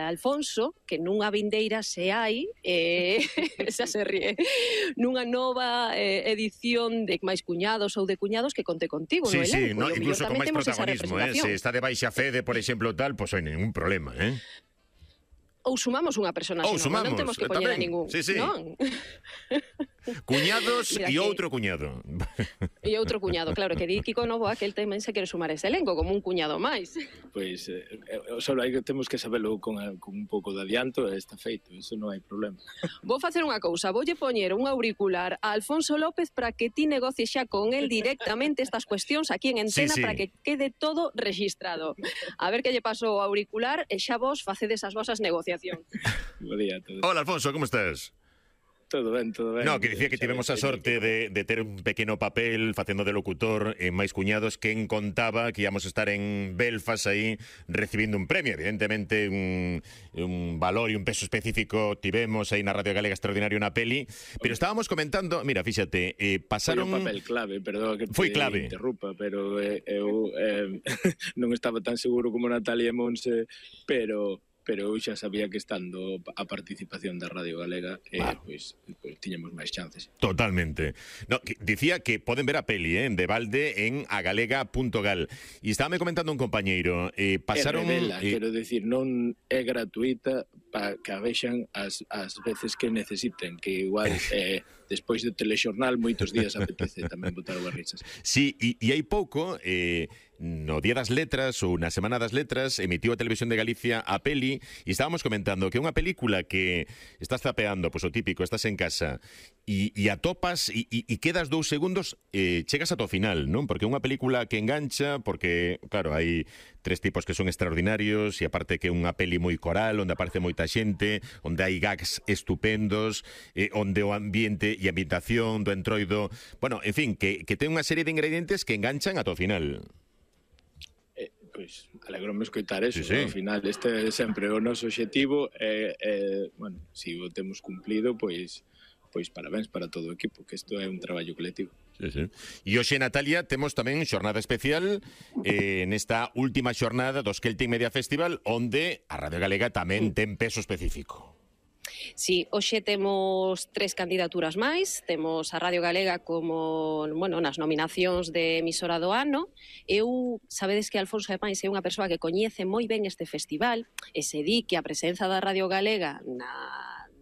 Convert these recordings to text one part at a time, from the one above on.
Alfonso, que nunha vindeira se hai, xa se ríe, nunha nova edición de máis cuñados ou de cuñados que conte contigo no elenco. Sí, no, incluso con máis protagonismo, se está de baixa Fede, por exemplo, tal, pois non hai ningún problema, Ou sumamos unha personaxe nova, non temos que poñer a ningún, non? Cuñados e outro cuñado. E outro cuñado, claro, que di Kiko Novoa que el tamén se quere sumar ese elenco como un cuñado máis. Pois só hai que temos que sabelo con un pouco de adianto e está feito, eso non hai problema. Vou facer unha cousa, voulle poñer un auricular a Alfonso López para que ti negocies xa con el directamente estas cuestións aquí en Antena para que quede todo registrado. A ver que lle paso o auricular e xa vos facedes as vosas negociacións. Bo día a todos. Hola, Alfonso, como estás? Todo ben, todo ben. No, que dicía que tivemos a sorte de ter un pequeno papel facendo de locutor en Máis Cuñados, quen contaba que íamos a estar en Belfast aí recibindo un premio, evidentemente un valor e un peso específico tivemos aí na Radio Galega Extraordinario na peli, pero estábamos comentando, mira, fíxate, pasaron... Foi un papel clave, perdón que foi clave. Interrumpa, pero eu non estaba tan seguro como Natalia e Monse, pero eu xa sabía que estando a participación da Radio Galega pois tiñamos máis chances. Totalmente. No, dicía que poden ver a peli de balde en agalega.gal. E estábame comentando un compañeiro, pasaron... revela, quero decir, non é gratuita para que a vexan as veces que necesiten, que igual despois do telexornal moitos días apetece tamén botar as risas. Sí, e hai pouco... no Día das Letras ou na Semana das Letras emitiu a Televisión de Galicia a peli e estábamos comentando que é unha película que estás zapeando, pois o típico, estás en casa e atopas e quedas 2 segundos, chegas ata o final, non? Porque é unha película que engancha, porque, claro, hai 3 tipos que son extraordinarios e aparte que é unha peli moi coral, onde aparece moita xente, onde hai gags estupendos, onde o ambiente e a ambientación do entroido, bueno, en fin, que ten unha serie de ingredientes que enganchan ata o final. Pois, alegro-me escoitar eso, sí. Ao final este é sempre o noso obxectivo bueno, se o temos cumplido, pois parabéns para todo o equipo, que isto é un traballo colectivo. Sí. E hoxe, Natalia, temos tamén xornada especial nesta última xornada do Celtic Media Festival, onde a Radio Galega tamén ten peso específico. Sí, hoxe temos 3 candidaturas máis, temos a Radio Galega como, bueno, nas nominacións de emisora do ano. Sabedes que Alfonso de Pais é unha persoa que coñece moi ben este festival e se di que a presenza da Radio Galega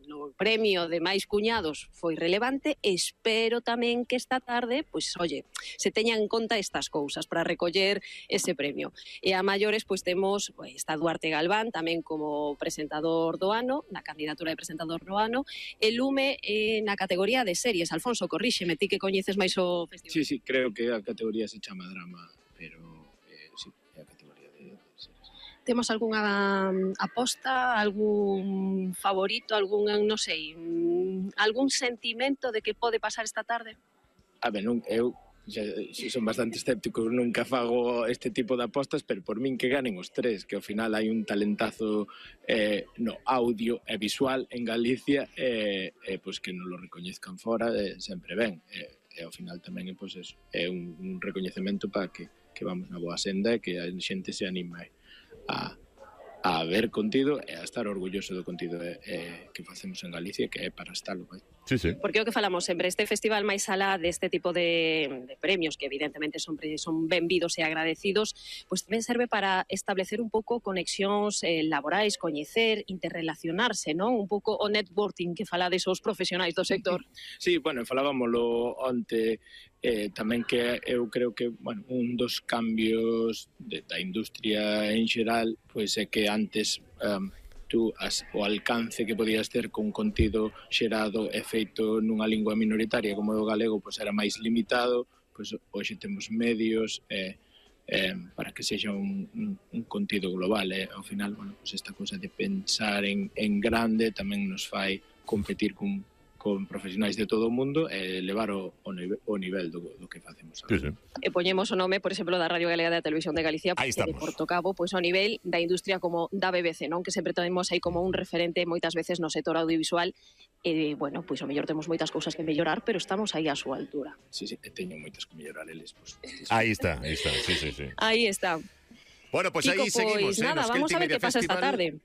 no premio de Máis Cuñados foi relevante. Espero tamén que esta tarde, pois, se teñan en conta estas cousas para recoller ese premio. E a maiores, pois, temos está Duarte Galván tamén como presentador do ano, na candidatura de presentador do ano, e Lume na categoría de series. Alfonso, corríxeme, ti que coñeces máis o festival. Sí, creo que a categoría se chama drama, pero sí, é a categoría de series. Temos algunha aposta, algún favorito, algún, non sei, algún sentimento de que pode pasar esta tarde? A ver, eu son bastante escéptico, nunca fago este tipo de apostas, pero por min que ganen os 3, que ao final hai un talentazo no audio e visual en Galicia, pois que non lo recoñezcan fora, sempre ben. E ao final tamén é un recoñecemento para que vamos na boa senda e que a xente se anime a ver contido e a estar orgulloso do contido que facemos en Galicia, que é para estalo. Sí. Porque o que falamos sempre, este festival máis alá deste tipo de premios, que evidentemente son benvidos e agradecidos, pois tamén serve para establecer un pouco conexións laborais, coñecer, interrelacionarse, non? Un pouco o networking que falades os profesionais do sector. Sí, bueno, falábamoslo onte, tamén que eu creo que, bueno, un dos cambios da industria en xeral, pois é que antes o alcance que podías ter con contido xerado e feito nunha lingua minoritaria como o galego, pois era máis limitado, pois hoxe temos medios para que sexa un contido global, ao final, bueno, pois esta cousa de pensar en grande tamén nos fai competir con profesionais de todo o mundo e levar o nivel do que facemos agora. E poñemos o nome, por exemplo, da Radio Galega da Televisión de Galicia, de Porto Cabo, pois ao nivel da industria como da BBC, non? Que sempre temos aí como un referente moitas veces no sector audiovisual e, bueno, pois ao mellor temos moitas cousas que mellorar, pero estamos aí á súa altura. Sí, teño moitas que mellorar eles. Aí está, sí. Aí está. Bueno, pois aí seguimos. Nada, vamos a ver que pasa esta tarde.